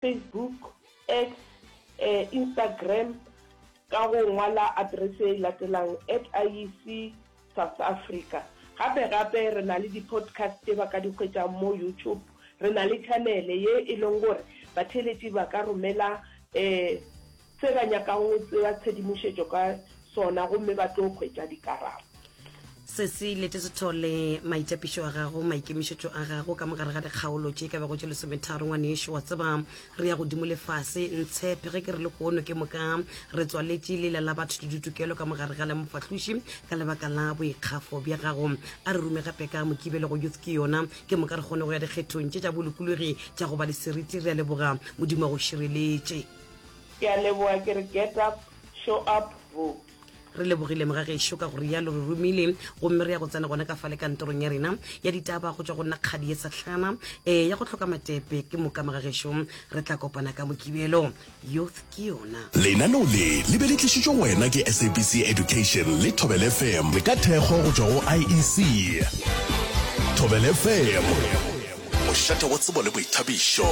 Facebook, X, eh, Instagram ka go ngwala aterese e latelang at IEC South Africa. Gape gape re na le di-podcast tše ba ka di hwetšang mo YouTube. Re na le channel ye e leng gore batheeletši ba ka romela um se ba nyakang go tseba tshedimošetšo ka sona gomme ba tlo hwetša dikarabo. Sesi Lete Sethole, maitapišo a gago, maikemišetšo a gago ka mogare ga dikgaolo tše ka bego tše lesometharo, ngwanešo, wa tseba re ya godimo le fase, ntshepe ge ke re lehono ke moka re tswaletše lela la batho le ditokelo ka mogare ga la mofahloši ka lebaka la boikgafo bja gago. A re rume gape ka Mokibelo go Youth Ke Yona, ke moka re kgone go ya dikgethong tše tša bolokologi tša go ba le seriti. Re a leboga, Modimo a go šireletše. Ke a leboga ke re get up, show up, vote. Re lebogile mogagešo ka go rialo re romile gomme re ya go tsena gona ka fale kantorong ya rena ya ditaba go tšwa go nna kgadi ye sahlana e ya go hloka matepe ke moka mogagešo re tla kopana ka mokibelo youth ke yona. Lenaneo le le be le tlišitšwe go wena ke SABC Education le Thobela FM le ka thekgo go tšwa go IEC. Thobela FM, mošate wa tsebo le boithabišo.